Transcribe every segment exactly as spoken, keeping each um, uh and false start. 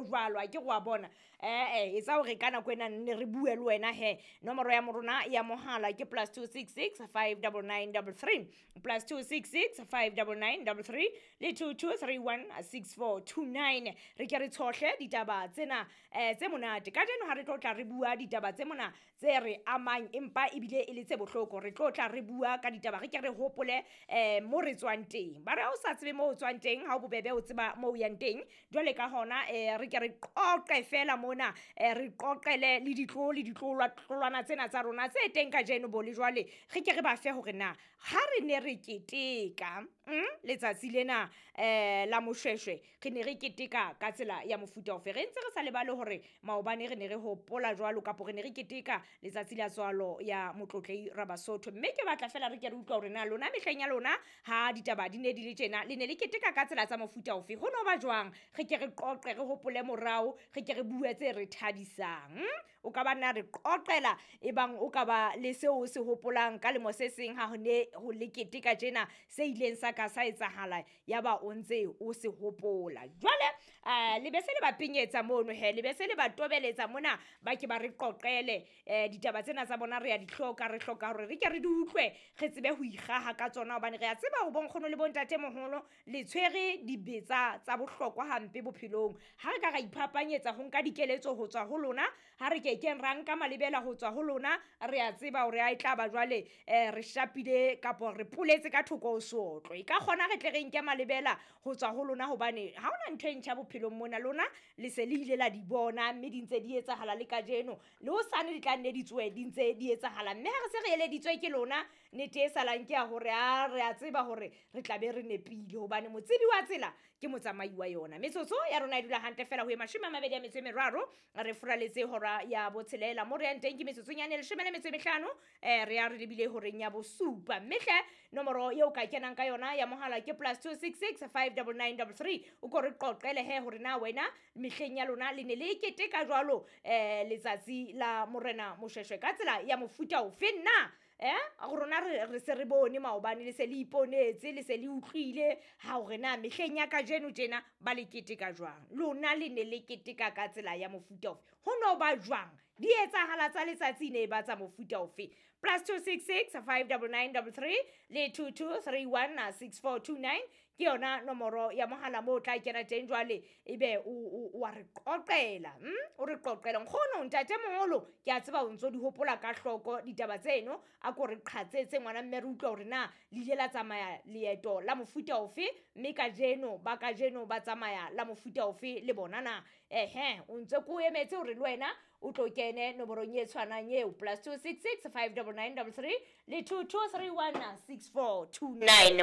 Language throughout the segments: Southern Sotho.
jwalo a ke go a bona eh eh etsa hore ka nako ena ne re bue le wena he. Nomoro ya morona ya mohala ke plus two six six five nine nine three three plus two six six five nine nine three three le two two three one six four two nine. Re ke re tshohle ditaba tsena eh tse monate ka jeno ha re tlo tla re bua ditaba tse mona tse re amang empa ebile e le tse bohloko. Re tlo tla re bua ka ditaba re ke re hopole eh mo re tswang teng. Ba re ha o sa tsebe mo o tswang teng ha o bobebe o tseba mo o yang teng. Jwale ka hona eh re ke re qoqe fela mona eh re qoqele le ditlo le ditlolwana tsena tsa rona tse teng ka jeno bo le jwale re ke re ba fe hore na ha re ne re keteka mm, letsatsi lena eh la Moshweshwe re ne re keteka ka tsela ya mofuta ofe. Re ntse re sa lebale hore maobane re ne re hopola jwalo kapo re ne re keteka letsatsi la tswalo ya Motlotlei Rabasotho. Mme ke batla fela re ke re utlwa hore na lona mehleng ya lona ha ditaba di ne di le tjena le ne le keteka ka tsela tsa mofuta ofe, ho no ba jwang. Re ke re qoqe re hopole morao, re ke re bue tse re thabisang. O ka ba nna re qoqela ebang o ka ba le seo o se hopolang ka lemo se seng ha ho ne ho le keteka tjena se ileng sa ka sa etsahala ya ba o ntse o se hopola. Jwale eh le be se le ba penyetsa mono he, le be se le ba tobeletsa mona ba ke ba re qoqele eh ditaba tsena tsa bona re ya di hloka, re hloka hore re ke re di utlwe re tsebe ho ikgaha ka tsona hobane re a tseba ho bonkgono le bontate moholo le tshwere dibetsa tsa bohlokwa hampe bophelong. Ha re ka ra iphapanyetsa ho nka dikeletso ho tswa ho lona, ha re ke keng ra nka malebela ho tswa ho lona, re a tseba hore a e tla ba jwale eh re shapile kapo re poletse ka thoko ho sotlwe. E ka kgona re tle re nke malebela ho tswa ho lona hobane ha hona ntho e ntjha bophelong mona, lona le se le ile la di bona mme di ntse di etsahala le kajeno le hosane di tla nne di tswe di ntse di etsahala. Mme ha re se re eleditswe ke lona nnete e salang ke ya hore a re a tseba hore re tla be re nepile hobane motsebi wa tsela ke motsamai wa yona. Metsotso ya rona e dula hantle fela ho e mashome a mabedi a metso e meraro re furaletse hora ya botshelela mo re yang teng ke metsotsonyane leshome le metso e mehlano eh re ya re lebile horeng ya bosupa. Mme hle nomoro eo ka kenang ka yona ya mohala ke plus two six six five nine nine three three. O ko re qoqele he hore na wena mehleng ya lona le ne le keteka jwalo eh letsatsi la Morena Moshweshwe ka tsela ya mofuta ofe na. Eh rona re se re bone maobane le se le iponetse le se le utlwile ha hore na mehleng ya kajeno tjena ba le keteka jwang, lona le ne le keteka ka tsela ya mofuta ofe, ho no ba jwang, di etsahala tsa letsatsi ne ba tsa mofuta ofe. Plus two six six five nine nine three three le two two three one six four two nine ke yona nomoro ya mohala moo o tla kena teng jwale ebe o wa re qoqela mm o re qoqela. Nkgono ntate moholo ke a tseba o ntso di hopola ka hloko ditaba tseno, a ko re qhatsetse ngwana mme re utlwa hore na le ile la tsamaya leeto la mofuta ofe mme kajeno ba kajeno ba tsamaya la mofuta ofe le bona na. Ehe o ntse ko emetse hore le wena o tlo kene nomorong e tshwanang eo plus two six six five nine nine three three le two two three one six four two nine.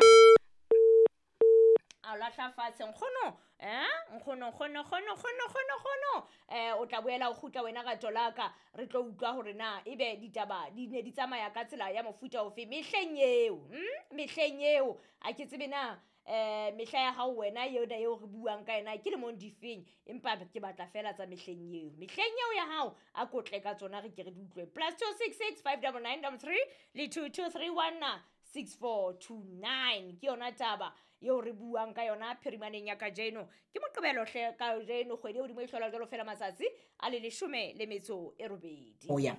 A lahla fatshe nkgono eh nkgono nkgono nkgono nkgono nkgono nkgono eh o tla boela o kgutla wena ka tolaka re tlo utlwa hore na ebe ditaba di ne di tsamaya ka tsela ya mofuta ofe mehleng eo mm mehleng eo a ke tsebe na eh mehla ya hao wena yona eo re buang ka yena ke lemong difeng, empa ke batla fela tsa mehleng eo mehleng eo ya hao a kotle ka tsona re ke re di utlwe. Plus two six six five nine nine three three le two two three one six four two nine ke yona taba eo re buang ka yona phirimaneng ya kajeno. Ke Moqebelo hle kajeno kgwedi e hodimo e hlola jwalo fela matsatsi a le leshome le metso e robedi. Oya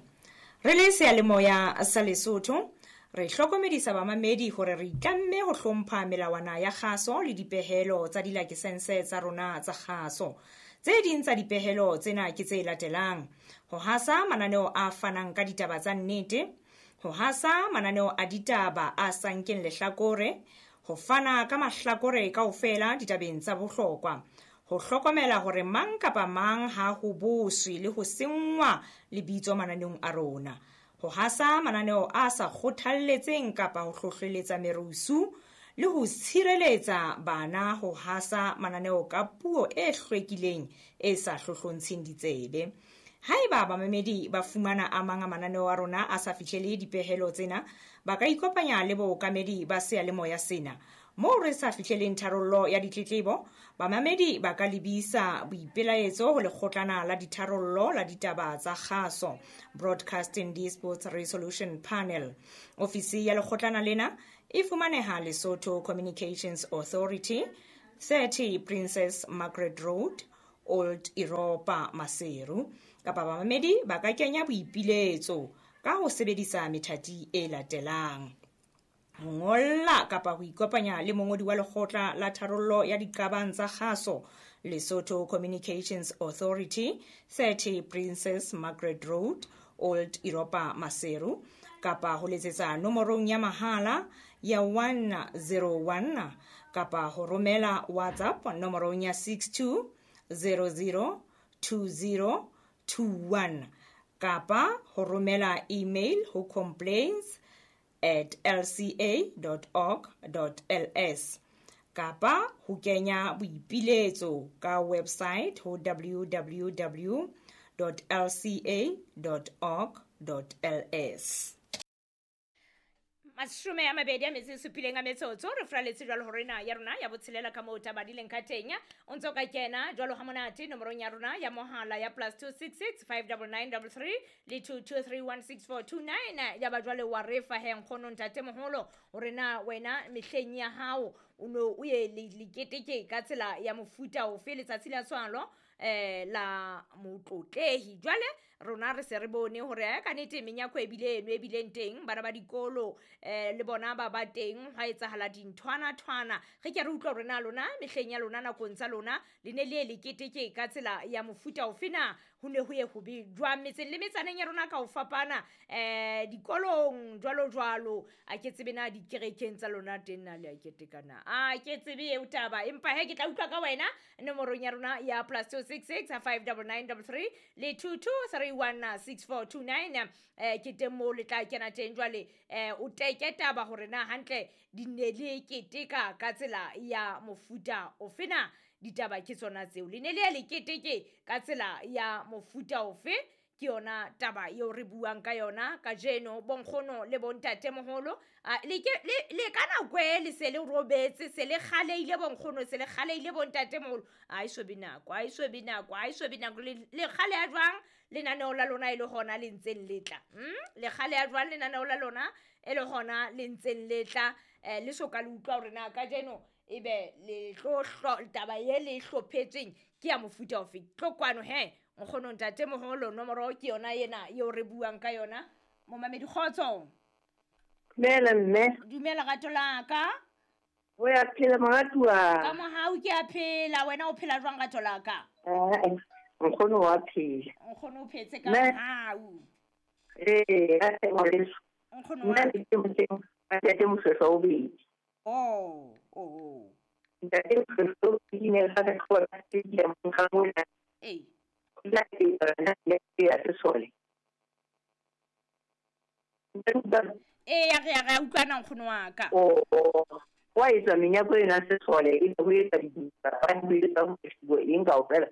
re le seyalemoya sa Lesotho re hlokomedisa bamamedi hore re itlamme ho hlompha melawana ya kgaso le dipehelo tsa dilakesense tsa rona tsa kgaso. Tse ding tsa dipehelo tsena ke tse latelang: ho hasa mananeo a fanang ka ditaba tsa nnete, ho hasa mananeo a ditaba a sa nkeng lehlakore, ho fana ka mahlakore kaofela ditabeng tsa bohlokwa, ho hlokomela hore mang kapa mang ha ho boswe le ho senngwa lebitso mananeong a rona, ho hasa mananeo a sa kgothalletseng kapa ho hlohleletsa merusu le ho tshireletsa bana ho hasa mananeo ka puo e hlwekileng e sa hlohlontsheng ditsebe. Haeba bamamedi ba fumana a mang a mananeo a rona a sa fihlele dipehelo tsena, ba ka ikopanya le bookamedi ba seyalemoya sena. Moo re sa fihleleng tharollo ya ditletlebo, bamamedi ba ka lebisa boipelaetso ho lekgotlana la ditharollo la ditaba tsa kgaso, Broadcasting Disputes Resolution Panel. Ofisi ya lekgotlana lena e fumaneha Lesotho Communications Authority, thirty Princess Margaret Road, Old Europa Maseru. Kapa bamamedi ba ka kenya boipiletso ka ho sebedisa methati e latelang: ho ngolla kapa ho ikopanya le mongodi wa lekgotla la tharollo ya diqabang tsa kgaso, Lesotho Communications Authority, thirty Princess Margaret Road, Old Europa Maseru, kapa ho letsetsa nomorong ya mahala ya one zero one, kapa ho romela WhatsApp nomorong ya six two zero zero two zero two one, kapa ho romela email ho complaints at l c a dot org dot l s, kapa ho kenya boipiletso ka website ho w w w dot l c a dot org dot l s. Mashome a mabedi a metso e supileng a metsotso re fraletse jwalo hore na ya rona ya botshelela ka moo taba di leng ka teng. O ntso ka kena jwalo ha monate nomorong ya rona ya mohala ya plus two six six five nine nine three three le two two three one six four two nine. Ya ba jwale wa re fa he nkgono ntate moholo hore na wena mehleng ya hao o no o ye leketeke ka tsela ya mofuta ofe letsatsi la tswalo eh la motlotlehi. Jwale rona re se re bone hore ka nnete menyako e bile eno e bileng teng, bana ba dikolo eh le bona ba ba teng, ha etsahala dinthwana thwana. Re ke re utlwa hore na lona mehleng ya lona nakong tsa lona le ne le leketeke ka tsela ya mofuta ofe na, ho ne ho ye ho be jwang metseng le metsaneng ya rona ka ho fapana, eh dikolong jwalo jwalo. A ke tsebe na dikerekeng tsa lona teng na le a keteka na, a ke tsebe eo taba, empa he ke tla utlwa ka wena nomorong ya rona ya plus two six six five nine nine three three le two two three one six four two nine. Eh ke teng moo le tla kena teng jwale eh o teke taba hore na hantle di ne le keteka ka tsela ya mofuta ofe na. Ditaba ke tsona tseo, le ne le le keteke ka tsela ya mofuta ofe, ke yona taba eo re buang ka yona kajeno. Bonkgono le bontate moholo, le ke le ka nako e le se le robetse, se le kgaleile bonkgono, se le kgaleile bontate moholo. A e so be nako, a e so be nako, a e so be nako. Le kgale ya jwang lenaneo la lona e le hona le ntseng le tla? Le kgale ya jwang lenaneo la lona e le hona le ntseng le tla? Le so ka le utlwa hore na kajeno ebe le tlo taba ye le hlophetsweng ke ya mofuta ofe. Tlo kwano he nkgono ntate moholo, nomoro ke yona ena eo re buang ka yona. Momamedi kgotso. Dumela mme. Dumela rato la ka. O ya phela moratuwa. Ka mohau ke a phela, wena o phela jwang rato la ka? Eh, nkgono wa phela. Nkgono o phetse ka mohau. Eh, a se ngwaneso. Nkgono wa. Nna ke moteng, ntate Moshweshwe o bedi. Oh, oh, oh. Ntate Moshweshwe o bedi ne ga re tlhola stadium ga mona. Eh. La ya sesole. Eh, ya re ya utlwana nkgono wa ka. Oh, wa etsa menyako ena sesole e ho etsa dipapadi ho etsa ho eng kaofela.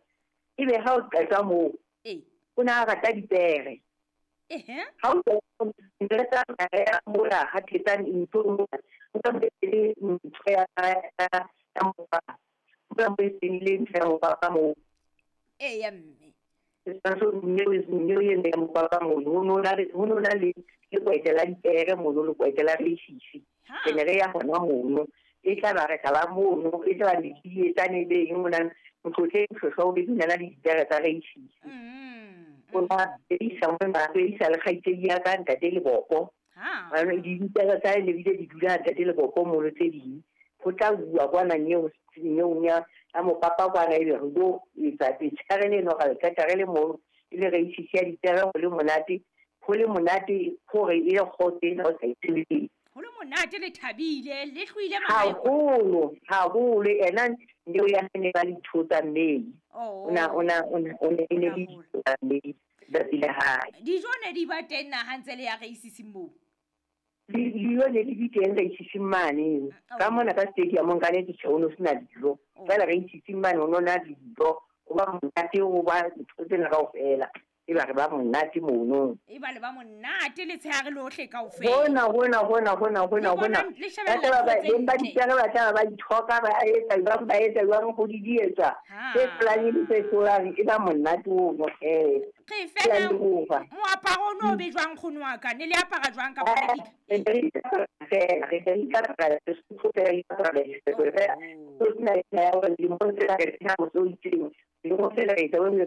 Ebe ha o qeta moo, eh, o na a rata dipere. Ehe. Ha o nreta ya mola ha thetsang ntho o ka le ntho ya ya mopapa. O ka le ntho ya mopapa moo. Eh ya mme. Setshwantsho mme o mme o ene ya mopapa mono, ho no na le ho no na le lekwete la dipere mono, lekwete la reisisi. Re ne re ya hona mono, e tla ba re tla ba mono, e tla ba mekiyetsane le eng mona, motlotleng Moshweshwe o bedi o na le dipere tsa reisisi. O na isa mona, o isa le kgaitsedi ya ka ntate Lebopo. Dipere tsa hae ne bile di dula ntate Lebopo mono tse ding. Ho tla bua kwana nyeo nyeong ya ya mopapa kwana, ebe re lo etsa letshehare leno ra le qeta re le mono, e le reisisi ya dipere, ho le monate, ho le monate hore e le kgotso ena o sa e tsebeng. Ho le monate, le thabile, le hloile mahae. Haholo, haholo. Ena neo ya ne ba le ditho tsa mmele. O na o na o na o ne le ditho tsa mmele tsatsi la hae. Dijo ne di ba teng na ha ntse le ya reisising moo? Dijo ne di teng reisising mane. Ka mona ka stadium ka nnete tjhe ho no sena dijo. Feela reisising mane ho no na dijo. Ho ba monate, ho ba ntho tsena kaofela. E ba re ba monate mono. E ba le ba monate letshehare lohle kaofela. Hona hona hona hona hona hona. Ba tla ba beng ba dipere ba tla ba ithoka ba etsa jwang ba etsa jwang ho di dietsa. Tse planeng le tse hlolang e ba monate ono eh. Re fela moaparo ono o be jwang nkgono wa ka? Ne le apara jwang ka bona di? Re fela re re ikapara Sesotho fela re ikapara Sesotho fela. So sena ya hore dilemong tsena re sena ho so itseng. Le go fela etsa o ka